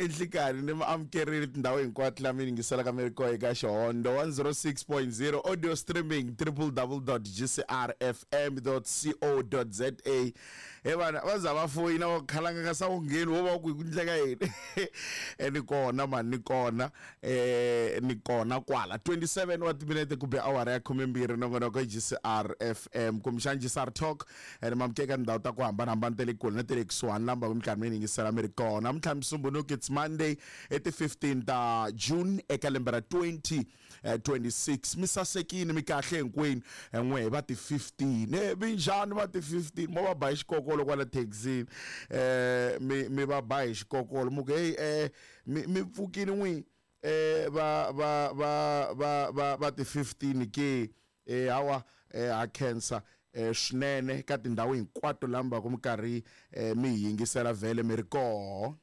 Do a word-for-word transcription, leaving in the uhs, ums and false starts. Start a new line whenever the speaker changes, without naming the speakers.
I nhlikani ni mi amukerile tindhawu hinkwato laha mi yingiselaka mi ri koho eka Xihondo one zero six point zero audio streaming triple double dot gcrfm dot co dot za. He vana va za va foyina va khalanga ka sa ngheni wo va ku ku ndleka yini. E ni kona mani, ni kona eh ni kona kwala twenty-seven wa timinete ku be awara ya khumembirhi nongonoko G C R F M kumbexana G C R Talk. Ene mamukeka tindhawu ta ku hambanahambana ta le kule na ta le kusuhani lamba ku minkarhi mi yingisela mi ri kona. Namuntlha Musumbhunuku, it's Monday i ti fifteen ta June eka lembe ra twenty twenty-six. Mi sasekile mi kahle hinkwenu n'we va ti fifteen. Eh minjhani va ti fifteen mo va ba hi xikokolo kwala taxini. Eh mi mi va ba hi xikokolo mu ku hey eh mi mi pfukile n'wi eh va va va va va va ti fifteen ke eh hawa eh ha khensa eh swinene ka tindhawu hinkwato lamba ku minkarhi mi yingisela vhele mi ri koho.